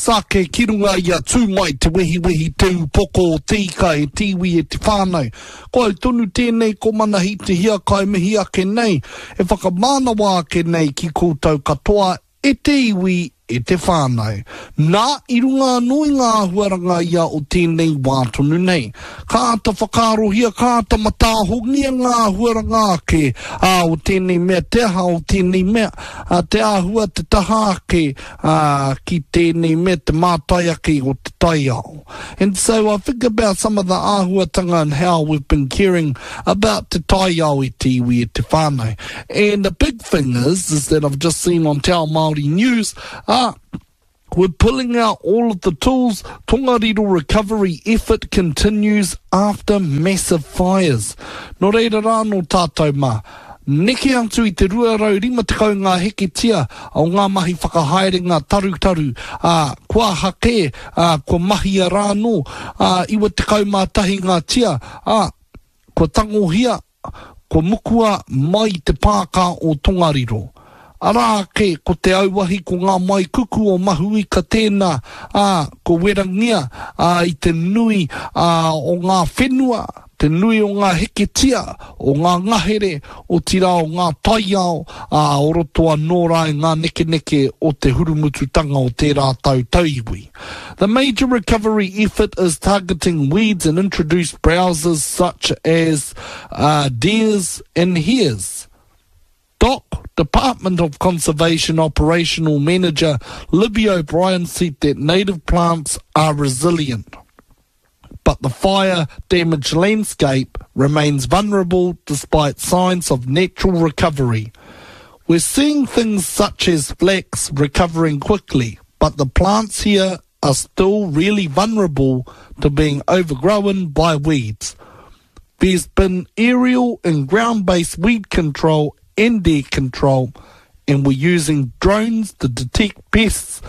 Sake ki runga i a Tū mai te wehiwehi te upoko o te ika e te iwi e te whānau. Ko au tonu tēnei ko Manahi Te Hiakai mihi ake nei, e whakamānawa ake nei ki koutou katoa e te iwi e te whānau. Nā, i runga anō i ngā āhuaranga ia o tēnei wā tonu nei. Ka āta whakaarohia, ka āta mataahongia ngā āhuaranga ake, ā, o tēnei mea, te aha o tēnei mea, ā, te āhua, te taha ake, ā, ki tēnei mea te mātai ake o te taiao. And so I think about some of the āhuatanga and how we've been caring about te taiao e te iwi e te whānau. And the big thing is, is that I've just seen on Te Ao Māori News, ā, we're pulling out all of the tools, Tongariro recovery effort continues after massive fires. Nō reira rā nō tātou mā. Neke atu i te 250 ngā heketia o ngā mahi whakahaerenga tarutaru, ā, kua aha kē, ā, kua mahia rā anō, ā, 91 ngā tia, ā, kua tangohia, kua mukua mai i te pāka o Tongariro. Arā ake ko te auahi ko ngā maikuku o Mahuika tēnā, ā, kua werangia, ā, i te nui, ā, o ngā whenua, te nui o ngā heketia, o ngā ngahere, otirā o ngā taiao, ā, o roto anō rā i ngā nekeneke o te hurumututanga o tērā tau tauiwi. The major recovery effort is targeting weeds and introduced browsers such as uh, deers and hares. DOC, Department of Conservation Operational Manager Libby O'Brien said that native plants are resilient but the fire damaged landscape remains vulnerable despite signs of natural recovery. We're seeing things such as flax recovering quickly, but the plants here are still really vulnerable to being overgrown by weeds. There's been aerial and ground-based weed control and deer control, and we're using drones to detect pests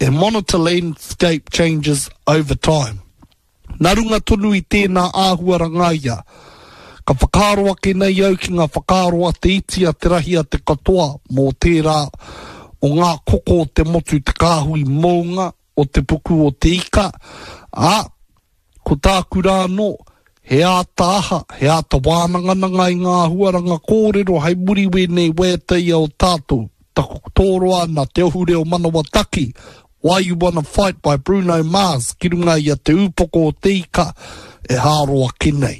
and monitor landscape changes over time. Nā runga tonu i tēnā āhuaranga ia, ka whakaaro ake nei au ki ngā whakaaro a te iti, a te rahi, a te katoa mō tērā o ngā koko o te motu te kāhui mounga o te puku o te ika, ā, ko tāku rā anō, he āta aha, he āta wānangananga i ngā āhuaranga kōrero hei muri wēnei waiata ia o tātou, taku tōroa nā Te Ohu Reo Manawa Taki, Why You Wanna Fight by Bruno Mars ki runga i a Te Ūpoko o Te Ika e hāro ake nei.